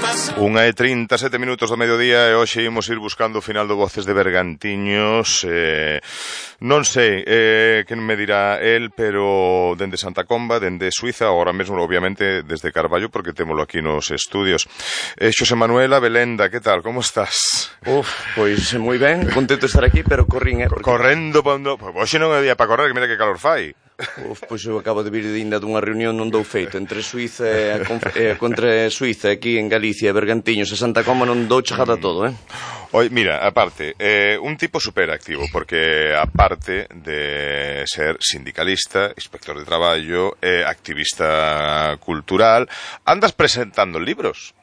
1:37 do mediodía e hoxe imos ir buscando o final do Voces de Bergantiños. Non sei quen me dirá el, pero dende Santa Comba, dende Suiza, agora mesmo obviamente desde Carballo, porque témolo aquí nos estudios. Xosé Manuela Belenda, que tal, como estás? Pois moi ben, contento de estar aquí, pero corrín, porque... Correndo, hoxe non é día para correr, que mira que calor fai. Pois eu acabo de vir ainda dunha reunión non dou feito entre Suiza e contra Suiza aquí en Galicia, Bergantiños e Santa Comba non dou chegada a todo, Oi, mira, aparte, un tipo superactivo, porque aparte de ser sindicalista, inspector de traballo, activista cultural, andas presentando libros.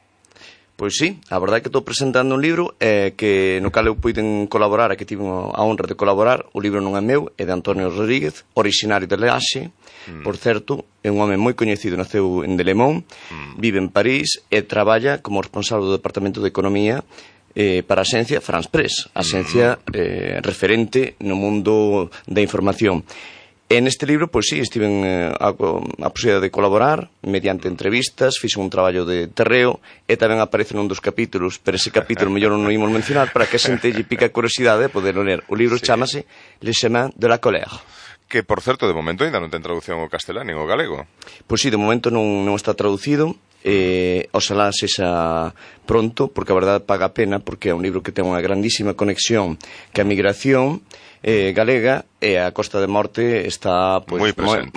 Pois sí, a verdade é que estou presentando un libro que no cal eu puiden colaborar, que tive a honra de colaborar. O libro non é meu, é de Antonio Rodríguez, originario de Leaxe. Por certo, é un home moi coñecido, naceu en Delemón, vive en París e traballa como responsable do Departamento de Economía para a axencia France Press, a axencia referente no mundo da información. En este libro, pois sí, estiven a posibilidade de colaborar mediante entrevistas, fixen un traballo de terreo e tamén aparece nun dos capítulos, pero ese capítulo mellor non o imos mencionar para que a xente lle pica a curiosidade de poder ler. O libro chámase Le chemin de la colère. Que, por certo, de momento ainda non ten traducción ao castelán nin ao galego. Pois sí, de momento non está traducido. Oxalá sexa pronto, porque a verdade paga a pena, porque é un libro que ten unha grandísima conexión que a migración galega e a Costa de Morte está moi presente,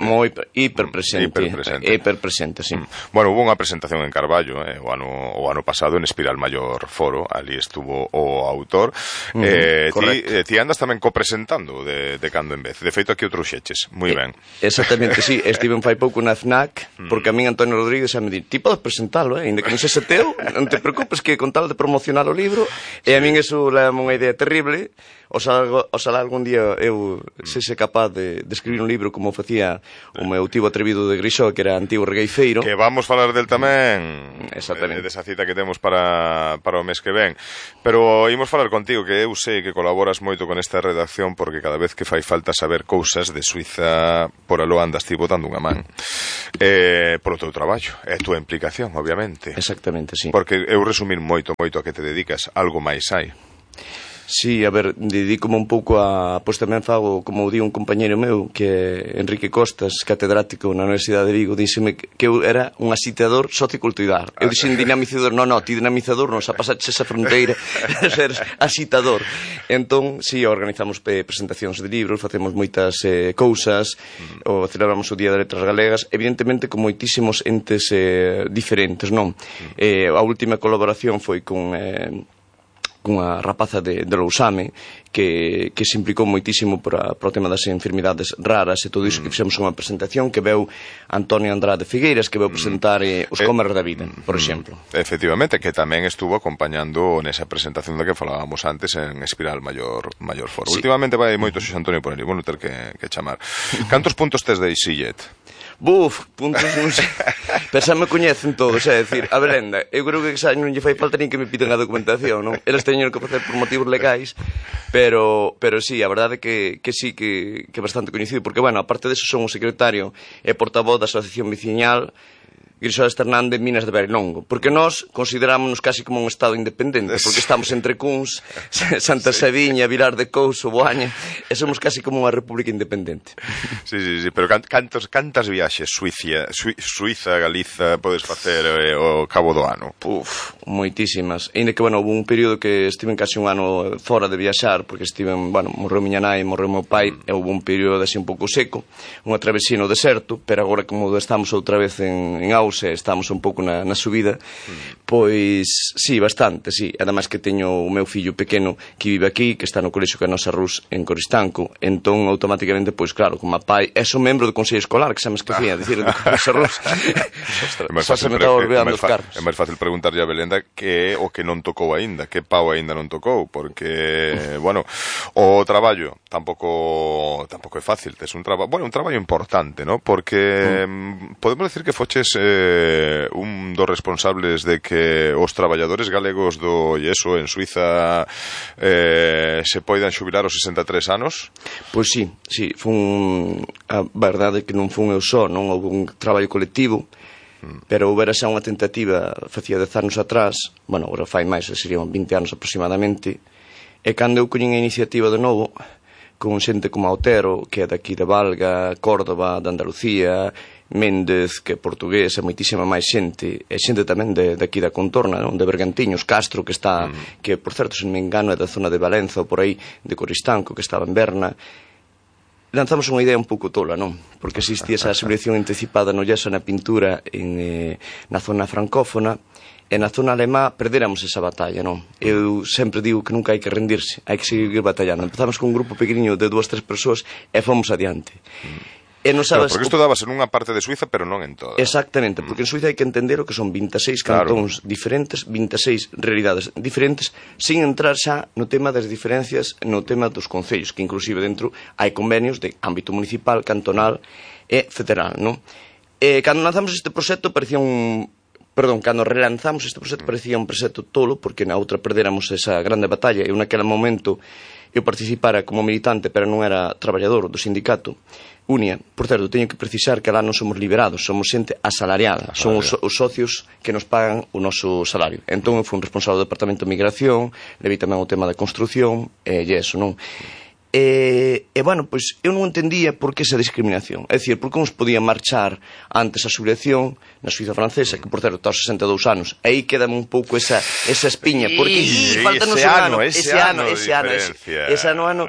hiperpresente, sí. Bueno, hubo unha presentación en Carballo o ano pasado en Espiral Maior Foro, ali estuvo o autor. Ti andas tamén copresentando de cando en vez. De feito aquí outros xeches, moi ben. Exactamente, sí, estiven fai pouco na FNAC, porque a min Antonio Rodríguez xa me di, ti podes presentalo, ainda que non sexa teu, non te preocupes, que con tal de promocionar o libro, e a min eso leva unha idea terrible. Oxalá algún día eu sexe capaz de escribir un libro como facía o meu tivo atrevido de Grixó, que era antigo regueifeiro. Que vamos falar del tamén. Exactamente. Desa cita que temos para o mes que ven. Pero imos falar contigo, que eu sei que colaboras moito con esta redacción, porque cada vez que fai falta saber cousas de Suiza, por aló andas ti botando unha man. Por o teu traballo, é a túa implicación, obviamente. Exactamente, sí. Porque eu resumir moito a que te dedicas, algo máis hai. Sí, a ver, dedícome un pouco pois tamén fago, como di un compañeiro meu, que é Enrique Costas, catedrático na Universidade de Vigo, díxeme que eu era un asitador sociocultural. Eu dixen dinamizador, non, ti dinamizador non, xa pasaches esa fronteira, ser asitador. Entón, sí, organizamos presentacións de libros, facemos moitas cousas, celebramos o Día das Letras Galegas, evidentemente con moitísimos entes diferentes, non? A última colaboración foi con unha rapaza de Lousame que se implicou moitísimo para o tema das enfermidades raras e todo iso, que fixemos unha presentación que veu Antonio Andrade Figueiras, que veu presentar os Comer da Vida, por exemplo. Efectivamente, que tamén estuvo acompañando nesa presentación da que falábamos antes en Espiral Maior Foro. Sí. Últimamente vai moito Xosé Antonio por ali, bueno, ter que chamar. Cantos puntos tes de EasyJet? Puntos non sei. Pero xa me coñecen todos, é dicir, a Belenda, eu creo que xa non lle fai falta nin que me pidan a documentación, non? Eles teñen que facer por motivos legais, pero sí, a verdade que sí, que é bastante coñecido, porque, bueno, aparte deso son o secretario e portavoz da Asociación Veciñal Grixoa Hernández Minas de Berlongo, porque nós considerámonos casi como un estado independente, porque estamos entre Cuns, Santa Sabiña, Vilar de Couso, Boaña, e somos casi como unha república independente. Sí, pero cantas viaxes Suiza, Galiza podes facer ao cabo do ano? Moitísimas. Ainda que, bueno, houve un período que estiven casi un ano fora de viaxar, porque estiven, bueno, morreu miña nai, morreu meu pai, e houve un período así un pouco seco, unha travesía no deserto, pero agora como estamos outra vez en Aus, estamos un pouco na subida, pois sí, bastante, sí. Ademais que teño o meu fillo pequeno que vive aquí, que está no colexo Canosa Rus en Coristanco, entón automáticamente, pois claro, como a pai, é un membro do Consello Escolar, que xa me esquecía dicir de Canosa Rus. Xa se me estaba olvidando os carros. É máis fácil preguntarlle a Belenda que é o que non tocou aínda, que pau aínda non tocou, porque, bueno, o traballo tampouco é fácil, tes un traballo importante, ¿no? Porque podemos decir que foches un dos responsables de que os traballadores galegos do IESO en Suiza se poidan xubilar aos 63 anos? Pois sí, a verdade é que non fun eu só, non houve un traballo colectivo pero houbera xa unha tentativa facía 10 anos atrás, bueno, agora fai máis, serían 20 anos aproximadamente, e cando eu coñín a iniciativa de novo con xente como Otero, que é daqui de Valga, Córdoba, de Andalucía, Méndez, que é portugués, e moitísima máis xente, e xente tamén daqui da contorna, non? De Bergantiños, Castro, que está, que por certo, se non me engano, é da zona de Valenza ou por aí, de Coristanco, que estaba en Berna. Lanzamos unha idea un pouco tola, non? Porque existía esa civilización anticipada no yeso na pintura na zona francófona, e na zona alemá perderamos esa batalla, non? Eu sempre digo que nunca hai que rendirse, hai que seguir batallando. Empezamos con un grupo pequeniño de 2, 3 persoas e fomos adiante. E non sabes... Porque isto dabas en unha parte de Suiza, pero non en toda. Exactamente, porque en Suiza hai que entender o que son 26 cantóns diferentes, 26 realidades diferentes, sin entrar xa no tema das diferencias, no tema dos concellos, que inclusive dentro hai convenios de ámbito municipal, cantonal e federal, non? E cando lanzamos este proxecto parecía un... Perdón, cando relanzamos este proxecto parecía un proxecto tolo, porque na outra perderamos esa grande batalla. Eu naquele momento eu participara como militante, pero non era traballador do sindicato Unia. Por certo, teño que precisar que lá non somos liberados, somos xente asalariada, son os socios que nos pagan o noso salario. Entón eu fui un responsable do Departamento de Migración, levei tamén o tema da construción, e eso, non? E, bueno, pois eu non entendía por que esa discriminación. É dicir, por que uns podían marchar antes a sublevación na Suiza francesa, que por certo está aos 62 anos. Aí quedame un pouco esa espiña, porque faltanos un ano, ese ano.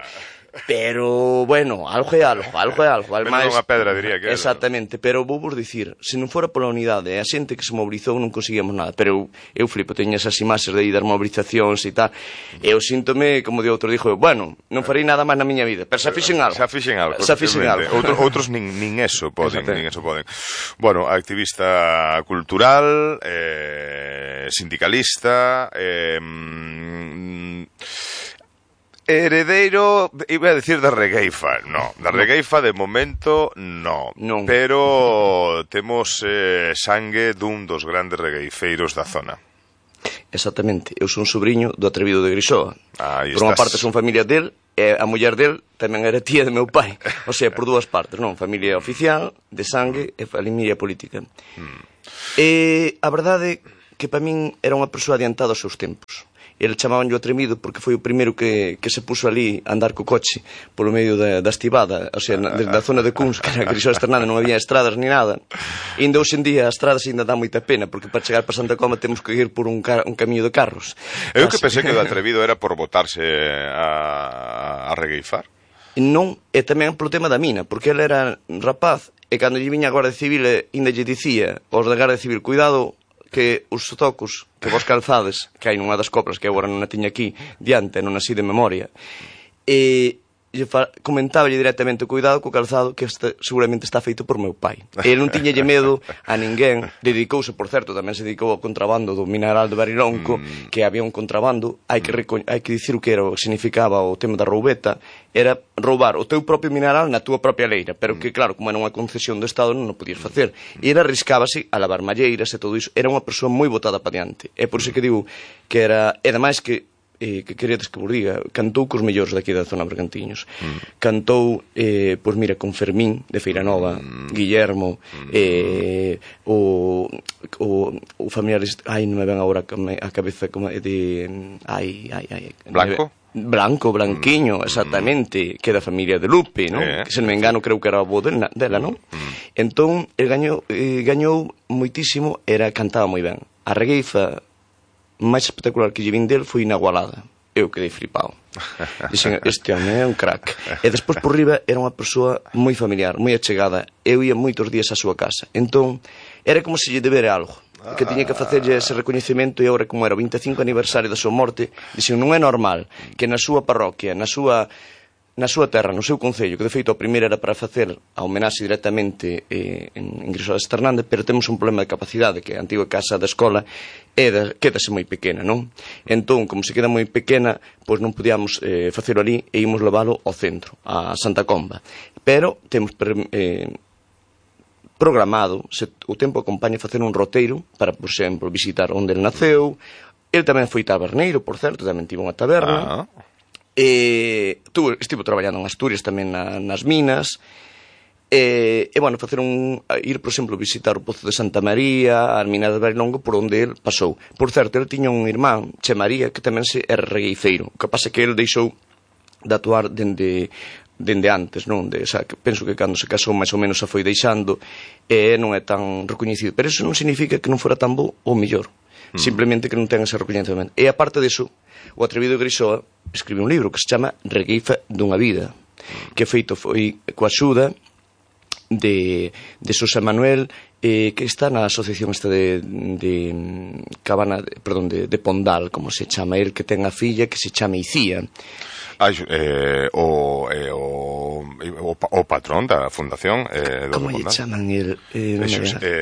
Pero, bueno, algo é algo. Menos unha pedra, diría que. Exactamente, pero vou vos dicir, se non fora pola unidade e a xente que se mobilizou non conseguíamos nada, pero eu flipo, teño esas imaxes de ir das mobilizacións e tal, e eu síntome, como de outro dixo, bueno, non farei nada máis na miña vida, pero xa fixen algo. Outros nin eso poden. Bueno, activista cultural, sindicalista, heredeiro, iba a decir da regueifa, no, da regueifa de momento non. Pero temos sangue dun dos grandes regueifeiros da zona. Exactamente, eu son sobrinho do Atrevido de Grixoa. Por unha parte son familia del, e a muller del tamén era tía de meu pai. O sea, por dúas partes, non? Familia oficial, de sangue, e familia política. E a verdade que para min era unha persoa adiantada aos seus tempos. Ele chamaban o Tremido porque foi o primeiro que se puso ali a andar co coche polo medio da estivada, o sea, desde a zona de Cuns, que era Grixoa Esternada, non había estradas ni nada. E ainda hoxe en día as estradas ainda dá moita pena, porque para chegar para Santa Coma temos que ir por un camiño de carros. Eu que pensei que o Atrevido era por botarse a regueifar. Non, e tamén polo tema da mina, porque ele era rapaz, e cando lle viña a Guardia Civil ainda lle dicía aos da Guardia Civil, cuidado, que os tocos que vos calzades, que hai nunha das coplas que agora non a tiña aquí diante, non así de memoria, e comentáballe directamente, cuidado co calzado que seguramente está feito por meu pai. Ele non tiñalle medo a ninguén, dedicouse, por certo, tamén se dedicou ao contrabando do mineral de Barilonco, que había un contrabando, hai que dicir o que era, o que significaba o tema da roubeta, era roubar o teu propio mineral na túa propia leira, pero que, claro, como era unha concesión do Estado, non o podías facer. E era arriscábase a lavar malleiras e todo iso. Era unha persoa moi botada para diante. É por iso que digo que era, e ademais que queredes que vos diga, cantou cos mellores daqui da zona Bergantiños. Cantou, pois mira, con Fermín de Feiranova, Guillermo, o familiar, non me ven agora a cabeza de Blanquiño, exactamente, que é da familia de Lupe, non? Que se non me engano creo que era o avó dela, non? Entón, gañou moitísimo, cantaba moi ben. A regueifa máis espectacular que lle vin del foi Inagualada. Eu quedei flipado. Dixen, este home é un crack. E despois por riba era unha persoa moi familiar, moi achegada. Eu ia moitos días á súa casa. Entón, era como se lle debera algo, que tiña que facerlle ese recoñecemento, e agora como era o 25 aniversario da súa morte, dixen, non é normal que na súa parroquia, na súa terra, no seu concello, que de feito a primeira era para facer a homenaxe directamente en Grixoa de Esternande, pero temos un problema de capacidade, que a antiga casa da escola quedase moi pequena, non? Entón, como se queda moi pequena, pois non podíamos facelo ali e ímos leválo ao centro, a Santa Comba. Pero temos programado, se o tempo acompaña, facer un roteiro para, por exemplo, visitar onde ele naceu. Ele tamén foi taberneiro, por certo, tamén tivo unha taberna. Estivo traballando en Asturias tamén nas minas, bueno, ir, por exemplo, visitar o Pozo de Santa María, a mina de Bailongo, por onde el pasou. Por certo, el tiña un irmán, Che María, que tamén era regueifeiro. O que pasa é que el deixou de actuar dende antes, non? O sea, penso que cando se casou máis ou menos a foi deixando e non é tan recoñecido. Pero eso non significa que non fora tan bo ou mellor. Simplemente que non ten ese recoñecemento. E aparte disso, o atrevido Grixoa escribe un libro que se chama Regueifa dunha vida, que feito foi coa axuda de Xosé Manuel, que está na asociación esta de Cabana, perdón, de Pondal, como se chama, el que ten a filla que se chama Icía. O patrón da fundación como lle chaman el?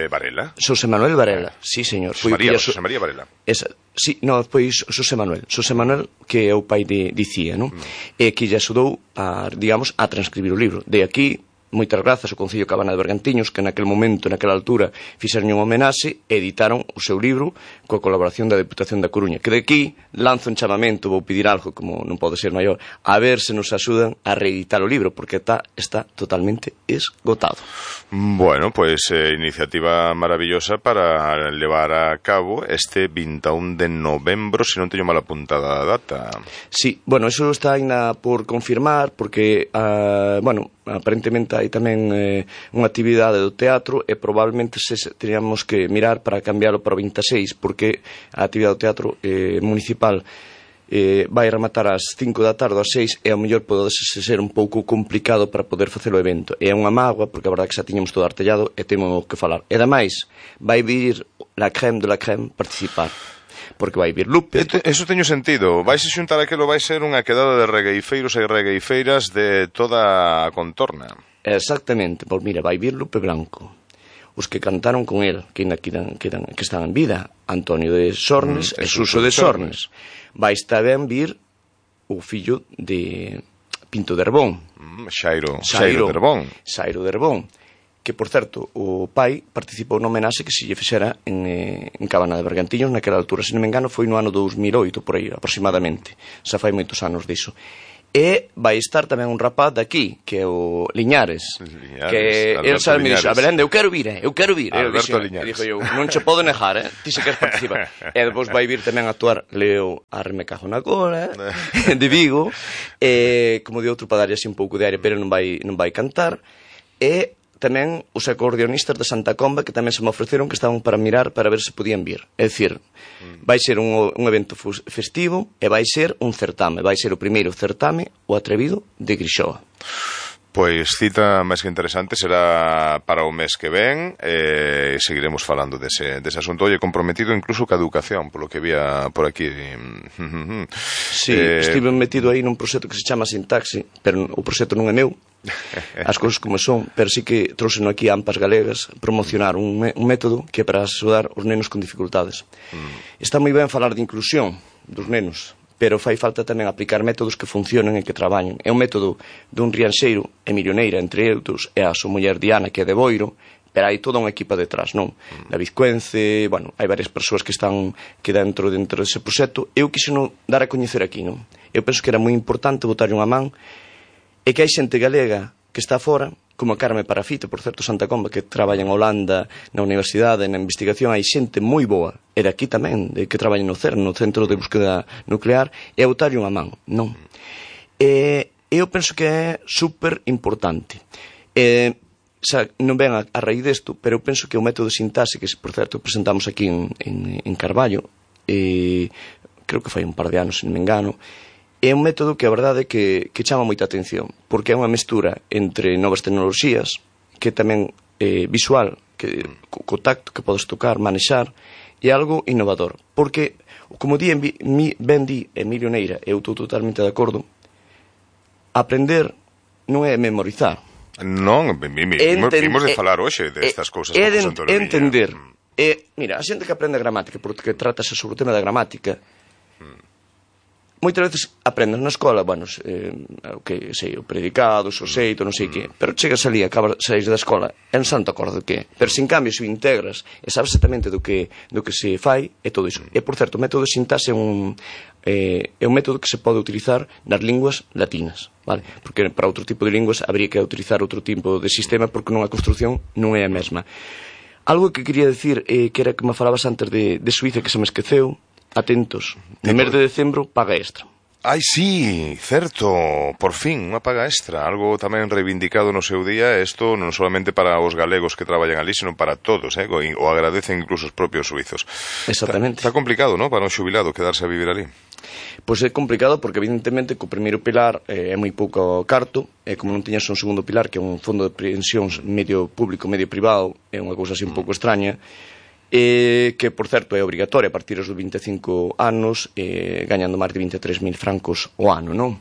Varela. Xosé Manuel Varela, sí, señor. Xosé María Varela. Sí, no, pois Xosé Manuel, que é o pai de Icía, non? E que lle axudou a transcribir o libro. De aquí, moitas grazas ao Concello Cabana de Bergantiños, que naquele momento, naquela altura, fixeron unha homenaxe e editaron o seu libro coa colaboración da Deputación da Coruña. Que de aquí lanzo un chamamento, vou pedir algo, como non pode ser maior, a ver se nos axudan a reeditar o libro, porque está totalmente esgotado. Bueno, pues iniciativa maravillosa para levar a cabo este 21 de novembro, se non teño mal apuntada a data. Sí, bueno, eso está ainda por confirmar, porque, bueno, aparentemente hai tamén unha actividade do teatro e probablemente teríamos que mirar para cambiarlo para o 26, porque a actividade do teatro municipal vai rematar ás 5 da tarde, ás 6, e ao mellor pode ser un pouco complicado para poder facer o evento. É unha mágoa, porque a verdade é que xa tiñamos todo artellado e temos que falar. E ademais, vai vir la crème de la crème participar, porque vai vir Lupe. Eso teño sentido. Vais a xuntar aquilo, vai ser unha quedada de regueifeiros e regueifeiras de toda a contorna. Exactamente, pois mira, vai vir Lupe Blanco, os que cantaron con el, que están en vida, Antonio de Sornes e Suso de Sornes. Vai tamén vir o fillo de Pinto de Herbón, Xairo de Herbón, que, por certo, o pai participou na homenaxe que se lle fixera en Cabana de Bergantiños naquela altura, se non me engano foi no ano 2008, por aí aproximadamente, xa fai moitos anos diso. E vai estar tamén un rapaz daqui, que é o Liñares, que el sabe, me dixo, a Belén, eu quero vir. Alberto Liñares. Dixo eu, non che podo negar, ti se queres participar. E depois vai vir tamén a actuar Leo Arme Cajo na Cola, de Vigo, como de outro para darlle así un pouco de aire, pero non vai cantar. E tamén os acordeonistas de Santa Comba, que tamén se me ofreceron, que estaban para mirar para ver se podían vir. É dicir, vai ser un evento festivo e vai ser un certame. Vai ser o primeiro certame, o atrevido, de Grixoa. Pois cita máis que interesante, será para o mes que ven, seguiremos falando dese asunto. Oye, comprometido incluso ca educación, polo que vía por aquí. Sí, estive metido aí nun proxecto que se chama Sintaxi, pero o proxecto non é meu, as cousas como son, pero sí que trouxeno aquí a AMPAs Galegas promocionar un método que é para axudar os nenos con dificultades. Está moi ben falar de inclusión dos nenos, pero fai falta tamén aplicar métodos que funcionen e que traballen. É un método dun rianxeiro, Emilio Neira, entre outros, e a súa muller Diana, que é de Boiro, pero hai toda unha equipa detrás, non? David Cuence, bueno, hai varias persoas que están dentro dese proxecto. Eu quixeno dar a coñecer aquí, non? Eu penso que era moi importante botarlle unha man e que hai xente galega que está fora, como a Carme Parafito, por certo, Santa Comba, que traballa en Holanda, na universidade, na investigación, hai xente moi boa, e daqui tamén, que traballa no CERN, no Centro de Búsqueda Nuclear, e a botarlle unha man, non? Eu penso que é super importante. Non ven a raíz desto, pero eu penso que o método de sintaxe, que, por certo, presentamos aquí en Carballo, creo que fai un par de anos, se non me engano, é un método que a verdade é que chama moita atención, porque é unha mestura entre novas tecnoloxías, que tamén visual, que co tacto que podes tocar, manexar, e algo innovador. Porque, como ben di Emilio Neira, eu estou totalmente de acordo, aprender non é memorizar. Non, vimos de falar hoxe destas cousas. É entender. Mira, a xente que aprende gramática, porque tratase sobre o tema da gramática, moitas veces aprendes na escola, bueno, o que sei, o predicado, o xeito, non sei que, pero chegas ali, saís da escola, e non santo acordo que, pero se en cambio se o integras e sabes exactamente do que se fai e todo iso. E por certo, o método de sintaxe é un método que se pode utilizar nas linguas latinas, vale? Porque para outro tipo de linguas habría que utilizar outro tipo de sistema porque non a construción non é a mesma. Algo que quería decir que era que me falabas antes de Suiza que se me esqueceu. Atentos, no mes de decembro paga extra. Ai, sí, certo, por fin, unha paga extra, algo tamén reivindicado no seu día, isto non solamente para os galegos que traballan ali, sino para todos, o agradecen incluso os propios suizos. Exactamente. Está complicado, non, para un xubilado quedarse a vivir ali? Pois é complicado porque evidentemente co primeiro pilar é moi pouco carto, e como non tiñas un segundo pilar que é un fondo de pensións medio público, medio privado, é unha cousa así un pouco extraña, que, por certo, é obrigatoria a partir dos 25 anos, gañando máis de 23.000 francos o ano, non?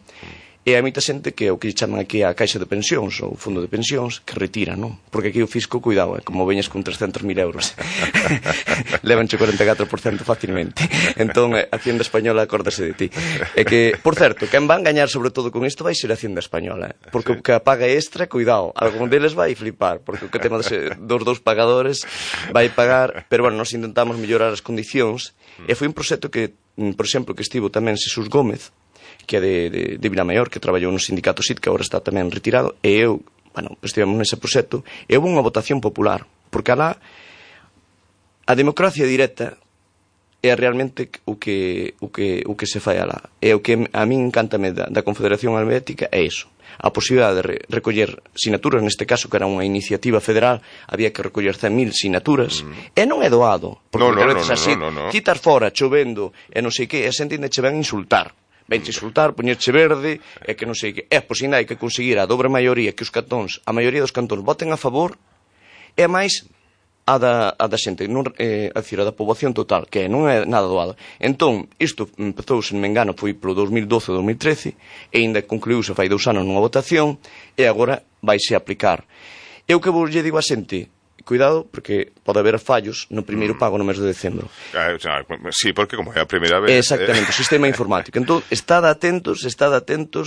E hai moita xente que o que chaman aquí a caixa de pensións ou fondo de pensións que retira, non? Porque aquí o fisco, cuidado, como veñas con 300.000 euros levanche 44% facilmente. Entón, a Hacienda Española acórdase de ti. E que, por certo, quen van gañar sobre todo con isto vai ser a Hacienda Española, porque o que paga extra, cuidado, algún deles vai flipar, porque o que tema dos dous pagadores vai pagar, pero bueno, nos intentamos mellorar as condicións, e foi un proxecto que, por exemplo, que estivo tamén Xesús Gómez, que é de Vilamaior, que traballou no sindicato SIT, que agora está tamén retirado, e eu, bueno, estivemos nese proxecto, e houve unha votación popular, porque alá a democracia directa é realmente o que se fai alá. E o que a min encántame da Confederación Helvética é iso. A posibilidade de recoller sinaturas, neste caso que era unha iniciativa federal, había que recoller 100.000 sinaturas, e non é doado, porque a veces así, quitar fora, chovendo, e non sei que, e a xente ainda che ven insultar. Venche insultar, poñerche verde, e que non sei que. Pois ainda hai que conseguir a dobre maioría que os cantóns, a maioría dos cantóns voten a favor, e máis a da xente, a dicir, a da poboación total, que non é nada doado. Entón, isto empezou, se non me engano, foi polo 2012-2013, e ainda concluíuse fai 2 anos nunha votación, e agora vaise a aplicar. Eu que lle digo a xente, cuidado, porque pode haber fallos no primeiro pago no mes de decembro. Sí, porque como é a primeira vez... Exactamente, o sistema informático. Entón, estad atentos,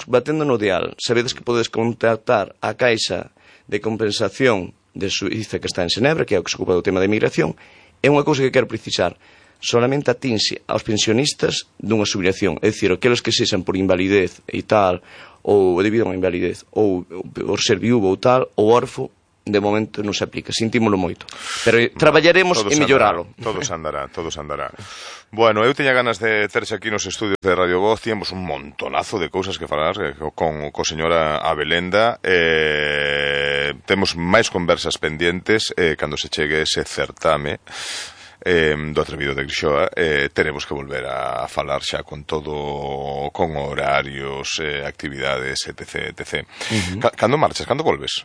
batendo no dial. Sabedes que podedes contactar a Caixa de Compensación de Suiza que está en Xenebra, que é o que se ocupa do tema da inmigración. É unha cousa que quero precisar. Solamente atinxe aos pensionistas dunha xubilación. É dicir, aqueles que sexan por invalidez e tal, ou debido a unha invalidez, ou por ser viúvo ou tal, ou orfo, de momento non se aplica, sentímolo moito, pero traballaremos en melloralo. Todos andará. Bueno, eu teña ganas de terse aquí nos estudios de Radio Voz, temos un montonazo de cousas que falar co señora Abelenda, temos máis conversas pendientes cando se chegue ese certame do Atrevido de Grixoa, teremos que volver a falar xa con todo, con horarios, actividades, etc. Cando marchas, cando volves?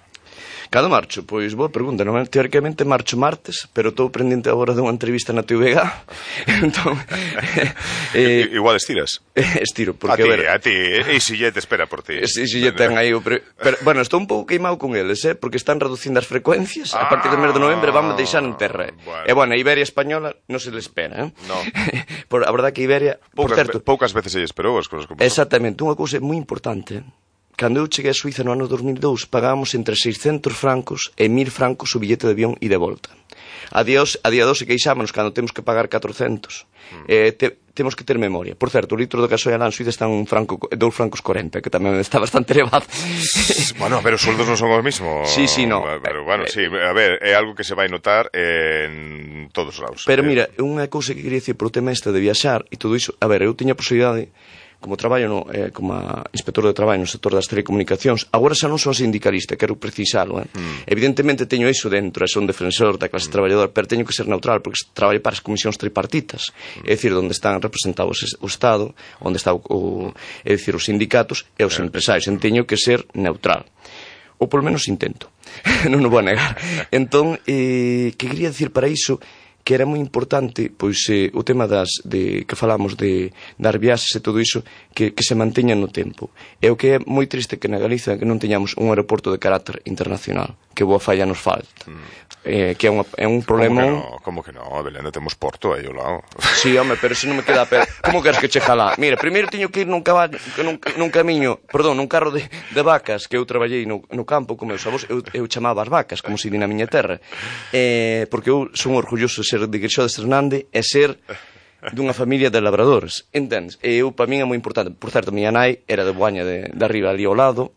Cando marcho? Pois boa pregunta, non? Teóricamente marcho martes, pero estou pendente agora dunha entrevista na TVG. Entón, igual estiras? Estiro, porque a ti, e Sillete espera por ti. Sillete ten aí pero, bueno, estou un pouco queimado con eles, porque están reducindo as frecuencias, a partir do mes de novembro vamos deixar en terra. E bueno, a Iberia Española non se le espera, No. A verdade que Iberia, por certo, poucas veces se esperou as cousas como exactamente, unha cousa moi importante. Cando eu cheguei a Suiza no ano 2002, pagábamos entre 600 francos e 1.000 francos o billete de avión e de volta. A día 2 se queixámonos cando temos que pagar 400. Temos que ter memoria. Por certo, o litro de gasoil en Suiza está en 2,40 francos, que tamén está bastante elevado. Bueno, pero os sueldos non son os mismos. Sí, no. Pero bueno, sí, a ver, é algo que se vai notar en todos os lados. Pero mira, unha cousa que quería dicir pro tema este de viaxar e todo iso, a ver, eu tiña a posibilidade, como traballo como inspector de traballo no sector das telecomunicacións, agora xa non son sindicalista, quero precisalo. Evidentemente teño iso dentro, son defensor da clase traballadora, pero teño que ser neutral, porque traballo para as comisións tripartitas, é dicir, onde están representados o Estado, onde está é dicir, os sindicatos e os empresarios, teño que ser neutral. Ou polo menos intento, non o vou a negar. Entón, que quería dicir para iso, que era moi importante pois o tema que falamos de dar viaxes e todo iso que se manteñan no tempo. E o que é moi triste que na Galiza que non teñamos un aeroporto de carácter internacional, que boa falla nos falta. Que é un problema. Como que no? Belén, temos Porto aí ao lado. Sí, home, pero se non me queda a pé. Como queres que chexa lá? Mira, primeiro teño que ir nun carro de vacas, que eu traballei no campo con meus avós, eu chamaba as vacas, como se di na miña terra. Porque eu son orgulloso de ser de Grixó de Sernande e ser dunha familia de labradores, entendes? E eu, para min, é moi importante. Por certo, miña nai era de Boaña de arriba, ali ao lado.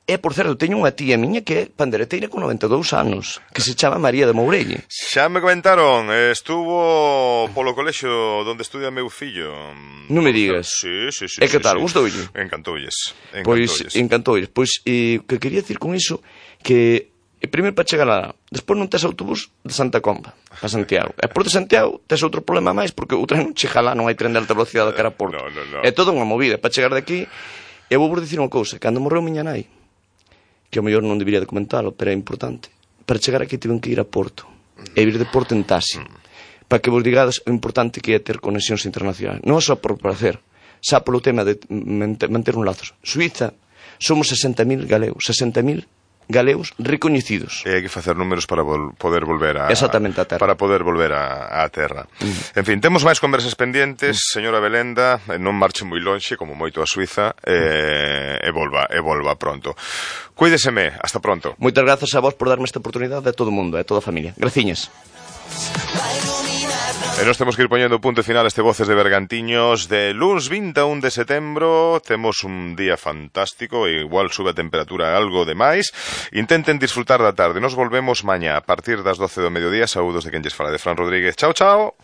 E, por certo, teño unha tía miña que é pandereteira con 92 anos, que se chama María de Mourelle. Xa me comentaron, estuvo polo colexio onde estudia meu fillo. Non me digas. Sí. E que tal, gustoulle? Encantoulles. Pois, encantoulles. Pois, que quería dicir con iso, que primeiro para chegar lá, despois non tes autobús de Santa Comba para Santiago, e por de Santiago tes outro problema máis, porque o tren non chega lá, non hai tren de alta velocidade que era Porto. No. É toda unha movida para chegar de aquí. E vou vos dicir unha cousa, cando morreu miña nai, que ao mellor non debería de comentalo, pero é importante, para chegar aquí tiven que ir a Porto e vir de Porto en taxi, para que vos digades o importante que é ter conexións internacionais, non só por placer, xa polo tema de manter un lazos. Suiza, somos 60.000 galegos recoñecidos. E hai que facer números para poder volver a Exactamente, a terra. Para poder volver a terra. En fin, temos máis conversas pendientes, señora Belenda, non marche moi lonxe, como moito a Suiza, e volva pronto. Cuídeseme, hasta pronto. Moitas grazas a vos por darme esta oportunidade a todo o mundo, a toda a familia. Graciñas. E nos temos que ir poñendo punto final a este Voces de Bergantiños de luns 21 de setembro. Temos un día fantástico, e igual sube a temperatura algo de máis. Intenten disfrutar da tarde. Nos volvemos mañá a partir das 12 do mediodía. Saúdos de quen lles fala, de Fran Rodríguez. Chao, chao.